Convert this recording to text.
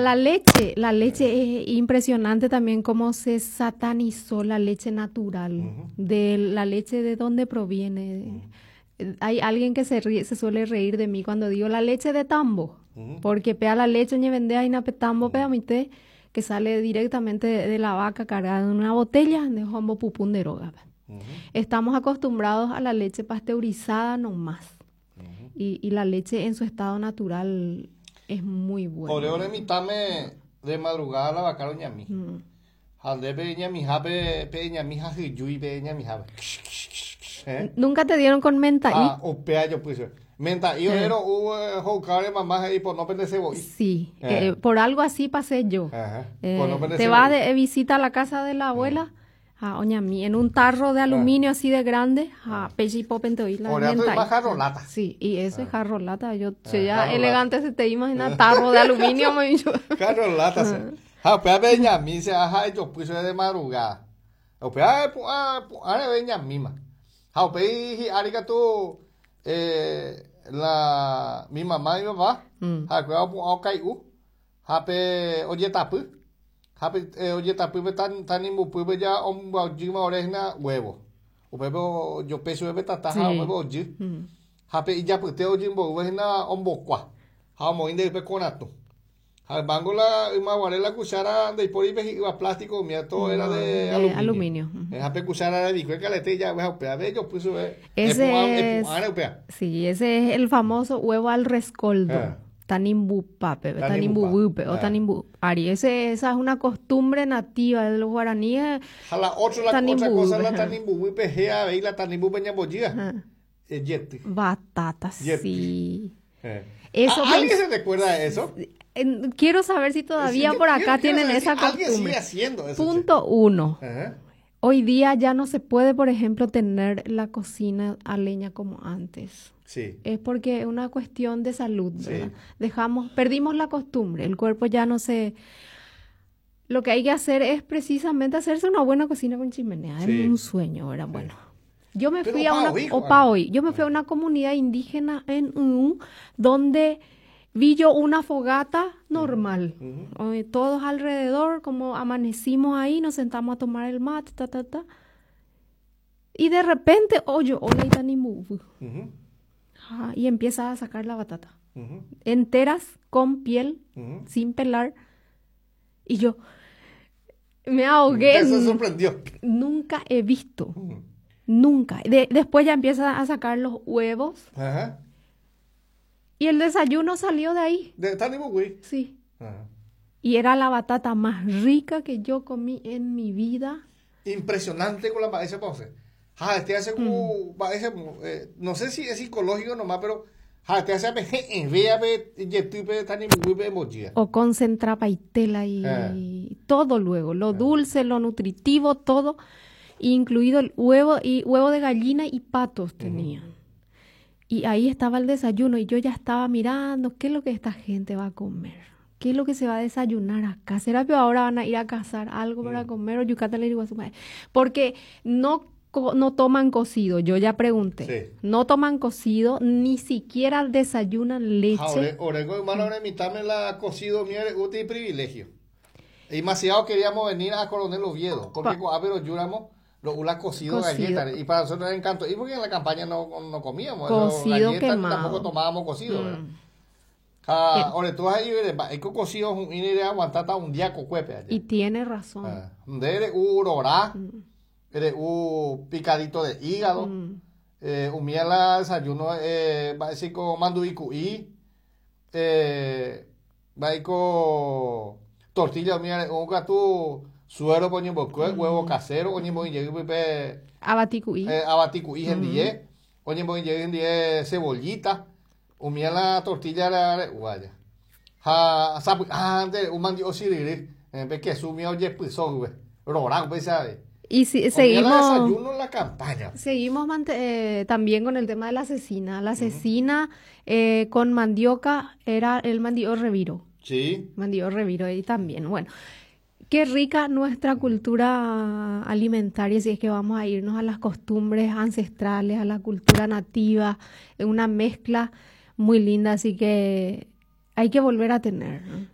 La leche, la leche es impresionante también cómo se satanizó la leche natural, de la leche de dónde proviene. Hay alguien que se ríe, se suele reír de mí cuando digo la leche de tambo, porque pea la leche ñe vende ahí na tambo pea mite que sale directamente de la vaca cargada en una botella de hombo pupún de roga. Estamos acostumbrados a la leche pasteurizada nomás. Y la leche en su estado natural es muy buena. Ore ore mitãme de madrugada la vaca roñami. Ha nde pe ñamihápe pe ñami ha hyjúi pe ñamihápe. Eh? ¿Nunca te dieron con menta'i? Ah, upéa jopy chupe. Menta'i ore ro'u ho'uka ore mamá he'i pono pende cebo'i. Sí, por algo así pasé yo. Te vas de visita a la casa de la abuela. Ha oñami en un tarro de aluminio así de grande, ha péicha ipópente oĩ la Oreato menta'i. yma jarro lata. Sí, y eso es jarro lata, yo che ya elegante se te imagina tarro de aluminio me dicho. Jarro lata se. Ha upéva pe ñami se ha ejopy chupe de madrugada. Upéva epu'ã pu'ã reve ñamíma. Ha upéi hi'ári katu eh, la mi mamá mi papá ha'ekuéra opu'ã okai'u Ha pe ojetapy, ha pe ojetapy pe tanimbupýpe ja ombyajýma ore hína huevo. Upépe ojope chupe pe tata ha upépe ojy. Ha pe ijapyte ojy mboyve hína ombokua ha omoĩ nde ype koratũ. Ha yvángo la yma guare la cuchara ndaipóri pe hi'ýva plástico umíva todo era de aluminio. Ha pe cuchara revikue kalete ijave ha upéva ejopy chupe epu'ãre upéva. Sí, ese es el famoso huevo al rescoldo. Tanimbupápe, tanimbuvýpe o tanimbu ári. Ese, esa es una costumbre nativa de los guaraníes. Ha la otro, la otra cosa la tanimbuvýpe héa avei la tanimbúpe ñambojýa. Jety. Batata, sí. Eso ¿Alguien se recuerda de eso? Quiero saber si todavía por acá tienen esa costumbre. Alguien sigue haciendo eso. Punto uno. Hoy día ya no se puede, por ejemplo, tener la cocina a leña como antes. Sí. Es porque es una cuestión de salud, ¿verdad? Dejamos, perdimos la costumbre, el cuerpo ya no se... Lo que hay que hacer es precisamente hacerse una buena cocina con chimenea. Es un sueño, ¿verdad? Bueno. Yo me fui a una opa hoy. Yo me fui a una comunidad indígena en Unu donde vi yo una fogata normal. Todos alrededor, como amanecimos ahí, nos sentamos a tomar el mate, ta, ta, ta. Y de repente oyo, hola itanimu. Y empieza a sacar la batata. Enteras, con piel, sin pelar. Y yo me ahogué. Se sorprendió. Nunca he visto. Nunca. Después ya empieza a sacar los huevos. Ajá. Y el desayuno salió de ahí. ¿De Tanimbuguy? Sí. Y era la batata más rica que yo comí en mi vida. Impresionante con la esa pausa. Ja, este hace como, eh, no sé si es psicológico nomás, pero ja, este hace O concentra paitela y todo luego, lo dulce, lo nutritivo, todo, incluido el huevo y huevo de gallina y patos tenían. Y ahí estaba el desayuno y yo ya estaba mirando qué es lo que esta gente va a comer. ¿Qué es lo que se va a desayunar acá? ¿Será que ahora van a ir a cazar algo para comer o yucata le digo a su madre? Porque no, no toman cocido, yo ya pregunté. No toman cocido, ni siquiera desayunan leche. Orengo, hermano, mitad la cocido, mire, útil privilegio. Y demasiado queríamos venir a Coronel Oviedo, porque pero yuramos lo ula cocido, galleta, y para nosotros era encanto. Y porque en la campaña no, no comíamos cocido galleta, tampoco tomábamos cocido. Ha, ore tú ahí mba'éiko cocido hu'ĩre reaguantáta un día kokuépe aja. Y tiene razón. Ah, nde re'u rora, re'u picadito de hígado, umi la desayuno eh, mba'éichiko mandu'i ku'i, eh, mba'éiko tortilla umi re'u katu suero-pe oñemboykue, huevo casero oñemoĩ jey pype Avati ku'i. Eh, avati ku'i hendie, oñemoĩ jey hendie cebollita. Umía la tortilla re'u aja. Ha sapy'ánte re'u mandi'o chyryry, pe kesu umía ojepyso guive. Rora upéicha avei. Y si, Umía seguimos, la desayuno la campaña. Seguimos también con el tema de la cecina. La cecina con mandioca era el mandi'o reviro. Sí. Mandi'o reviro ahí también. Bueno, qué rica nuestra cultura alimentaria, si es que vamos a irnos a las costumbres ancestrales, a la cultura nativa, es una mezcla muy linda, así que hay que volver a tener, ¿no?